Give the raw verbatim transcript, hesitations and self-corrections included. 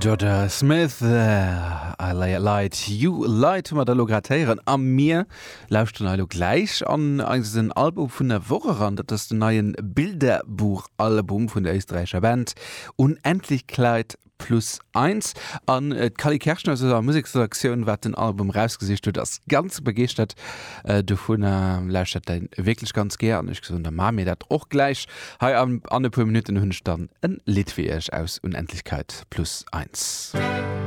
Jorja Smith äh, I lay light you light hu mer da lo grad héieren a mir lauschteren elo gläich an eisen Album vun der Woch eran dat ass den neien Bilderbuchalbum vun der éisträichescher Band Unendlichkeit plus eins an äh, d'Cally Kerschner aus der Museksredaktioun wat den Album rausgesicht huet ass ganz begeeschtert äh, dovun äh, lauschtert den wierklech ganz gär an ech gesot da maache mir dat och gläich hei an, an e puer Minutten hunn ech dann en Lidd fir iech aus Unendlichkeit plus eins.